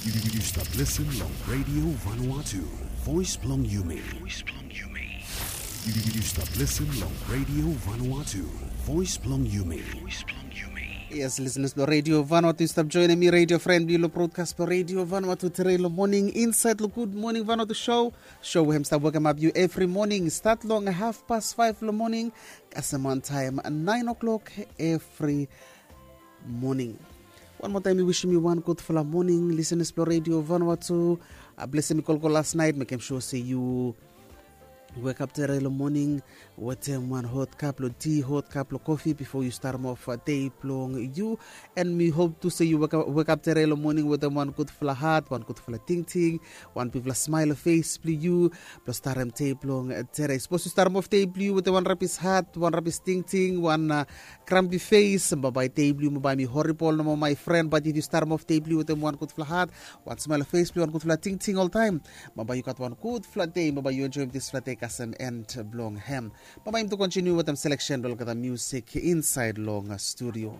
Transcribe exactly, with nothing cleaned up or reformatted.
You, you, you stap listen long Radio Vanuatu, voice blong yumi. Voice blong yumi. You, you, you stap listen long Radio Vanuatu, voice blong yumi. Voice blong yumi. Yes, listeners blong Radio Vanuatu, yu stap joinim mi, radio friend blong yu long broadcast blong Radio Vanuatu tere long morning, inside long Good Morning Vanuatu show. Show we hem stap wekemap yu evri morning, start long half past five long morning, kasem on time nine o'clock every morning. Wan moa taem mi wisim yu wan gudfala morning, listeners blong Radio Vanuatu. Blessing mi kolkol las naet, mekem sure se yu wekap tere long morning wetem wan hot kap long ti, hot kap long kofi bifo yu starem of dei blong yu. And mi hop tu se yu wekap tere long morning wetem wan gudfala hat, wan gudfala tingting, wan bigfala smael long fes blong yu blong starem dei blong tere. Sapos yu starem of dei blong yu wetem wan rabis hat, wan rabis tingting, wan krampi fes, bambae dei blong yu bambae mi horibol nomo, my friend. Bat if yu starem of dei blong yu wetem wan gudfala hat, wan smael long fes blong yu, wan gudfala tingting oltaem, bambae yu gat wan gudfala dei, bambae yu enjoem disfala dei kasem end blong hem. Bambae yumi tu kontiniu wetem seleksen blong olgeta musik insaed long studio.